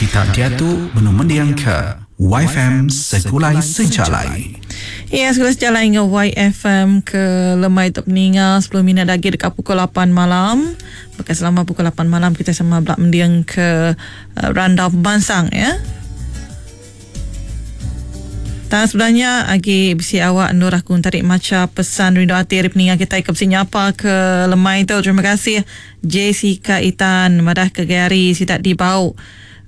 Kita diatu benung mendingka YFM Segulai Sejalai. Ya, Segulai Sejalai enggau YFM ke lemai tu peninga 10 minit agi deka pukul 8 malam. Baka selama pukul 8 malam kita sama bela mending ke eh, randau pemansang ya. Tang sebelah nya agi bisi awak endur aku entarik macha pesan rindu ati ari peninga kitai ke bisi nyapa ke lemai tu. Terima kasih Jessica Itan madah ke gai hari sida di Bau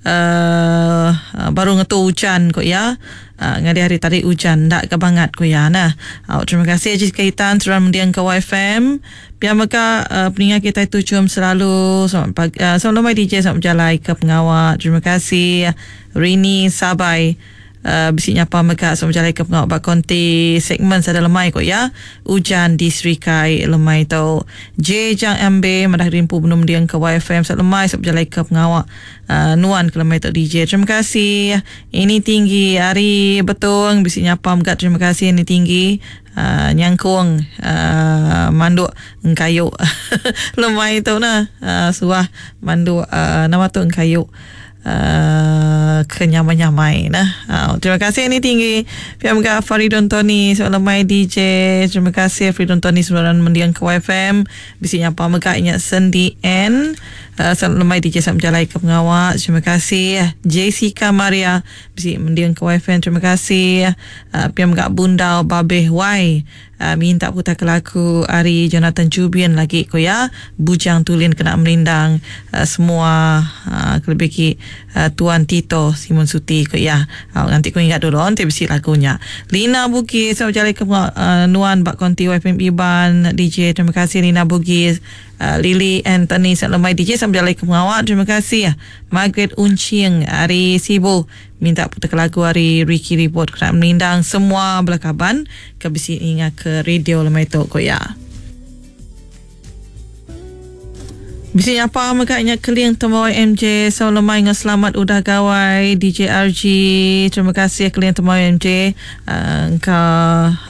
uhh baru ngetu ujan ku iya. Uhh ngadi hari tadi ujan enda ga bangat ku iya neh. Au terima kasih Jessica Itan seruran mending ke YFM. Pia mega uhh peninga kitai tuchum selalu selamat pagi selamat lemai DJ selamat bejalai ke pengawa. Terima kasih Rini Sabai. Bisi nyapa mega sama bejalaika pengawa ba konti segmen sada lemai ku iya ujan di Serikai lemai tu. J Jang Ambe madah diri empu benung mending ke YFM sada lemai sama bejalaika pengawa nuan ke lemai tu DJ. Terima kasih. Ini tinggi ari Betong bisi nyapa mega terima kasih ini tinggi nyangkung manduk engkayu lemai tu nah suah manduk nama tu engkayu. Uhh ke nyamai-nyamai nah. Au terima kasih ni tinggi. Pia mega Faridun Tony selamat lemai DJ. Terima kasih Faridun Tony seruran mending ke YFM. Bisi nyapa mega inya Sendi N. Uhh selamat lemai DJ selamat bejalai ke pengawa. Terima kasih Jessica Maria bisi mending ke YFM. Terima kasih. Uhh pia mega Bundau Babeh Y. Minta putar ke lagu ari Jonathan Jubin lagi ku iya Bujang Tulin kena merindang semua kelebih agi Tuan Tito Simon Suti ku iya. Nganti ku ingat dulu enti bisi lagu nya. Lina Bugis bejalai ke nuan ba konti YFM Iban DJ terima kasih Lina Bugis. Lily Anthony Lemai DJ sambil bejalai ke pengawa terima kasih. Margaret Unching ari Sibu Minta putar ke lagu ari Ricky Ribot kena merindang semua bala kaban ke bisi ninga ke radio lemai tu ku iya. Bisi nyapa mega nya Keling Tembawai MJ Sau lemai enggau selamat udah gawai DJ RG. Terima kasih Keling Tembawai MJ uh, engka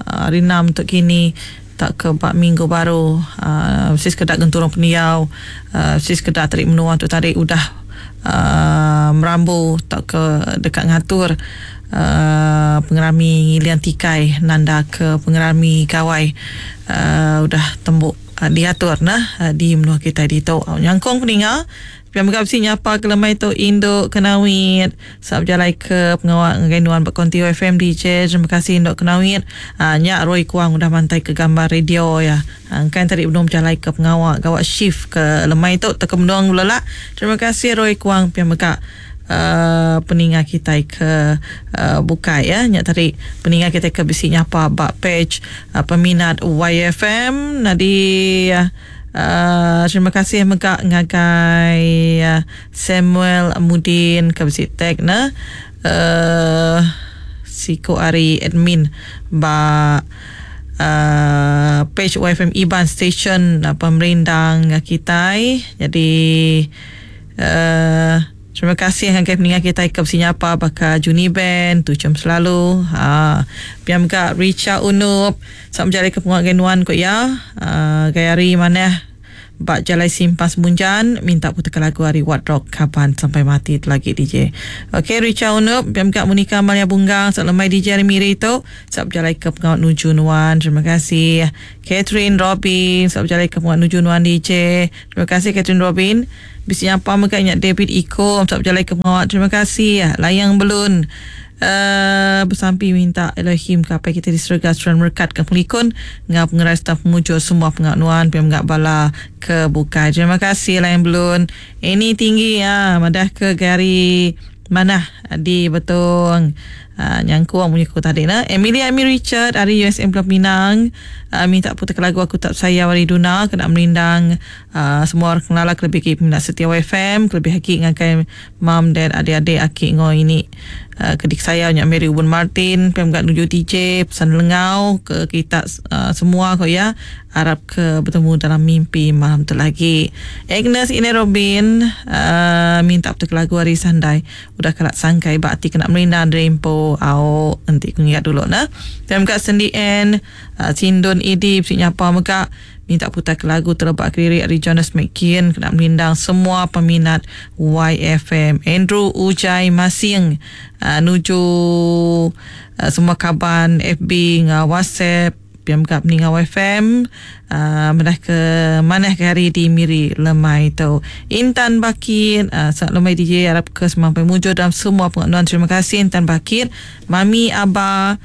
uh, hari enam tu kini tauka ba minggu baru uh, bisi sekeda genturung pendiau uh, bisi sekeda tadi menua tu tadi udah Merambu tauka deka ngatur pengerami ngiling tikai nanda ke pengerami gawai udah tembu diatur neh di menua kitai ditu. Nyangkung peninga pia mega bisi nyapa ke lemai tu indu Kenawit sap bejalai ke pengawa ngagai nuan ba konti FM DJ. Terima kasih indu Kenawit. Nya Roy Kuang udah mantai ke gambar radio iya. Engka enti benung bejalai ke pengawa gawa shift ke lemai tu tauka benung belelak. Terima kasih Roy Kuang pia mega uhh peninga kitai ke uhh bukai ya. Nya tadi peninga kitai ke bisi nyapa ba page peminat YFM. Nyadi uhh terima kasih mega ngagai Samuel Mudin ke bisi tag ne uhh siku ari admin ba Page YFM Iban Station pemerindang kitai. Jadi terima kasih ngagai peninga kitai ke bisi nyapa baka Juni Ben, tuchum selalu. Haa pia mega Richa Unup sama bejalaika pengawa ngagai nuan ku iya. Gai hari manah. Ba jalai simpang semunjan minta putarka lagu ari Wat Rock Kaban Sampai Mati tu lagi DJ. Ok Richa Unup pia mega Monica Maria Bunggang selamat lemai DJ ari Miri tu selamat bejalai ke pengawa nuju nuan terima kasih. Catherine Robin selamat bejalai ke pengawa nuju nuan DJ. Terima kasih Catherine Robin. Bisi nyapa mega nya David Ikom selamat bejalai ke pengawa terima kasih. Layang Belun. Besampi minta Elohim ke Apai kitai di serega seruran merekat ka pengelikun enggau pengerai serta pemujur semua pengawa nuan pia mega bala ke bukai. Terima kasih Lion Belun. Ini tinggi ah madah ke gari manah di Betong. Nyangkung munyi ku tadi ne. Emilia Amy Richard ari USM Pulau Pinang minta putar ke lagu Aku Tak Sayau ari Duna kena merindang semua orang kelala kelebih agi peminat setia YFM kelebih agi ngagai Mam dad adik-adik aki enggau ini ke dikesayau nya Mary Ubun Martin pia mega nuju TJ pesan lengau ke kita semua ko iya arap ke betemu dalam mimpi malam tu lagi. Agnes Ine Robin minta betuka lagu ari Sandai udah kala sangkai ba ati kena merindang diri empu au enti ku ngiga dulu ne. Pia mega Sendi Ann Sindun Idi bisi nyapa mega. Minta putar ke lagu Telebak Kediri ari Jonas McKean kena merindang semua peminat YFM. Andrew Ujai Masing nuju semua kaban FB enggau WhatsApp pia mega peninga YFM madah ke manah ke hari di Miri lemai tu. Intan Bakit selamat lemai DJ arap ke semampai mujur dalam semua pengawa nuan. Terima kasih Intan Bakit. Mami Aba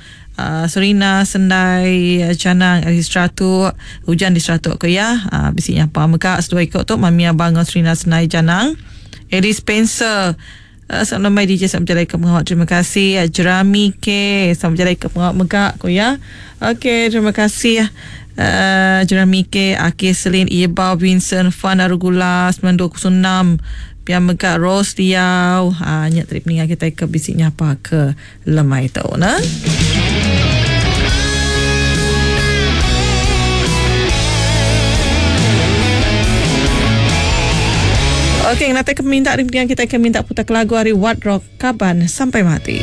Serina Sendai Chanang ari Seratuk ujan di Seratuk ko iya bisi nyapa mega seduai iko tu Mami Aba enggau Serina Sendai Janang. Eddie Spencer selamat lemai DJ selamat bejalai ke pengawa terima kasih Jerami K selamat bejalai ke pengawa mega ko iya. Okey terima kasih Jerami K Akih Selin Ibau Vincent Fan Arugula 9206 pia mega Rose Liau nya tadi peninga kitai ke bisi nyapa ke lemai tu ne. Okey, ngenatai ke peminta ari peninga kitai ke minta putar ke lagu ari What Rock Kaban Sampai Mati.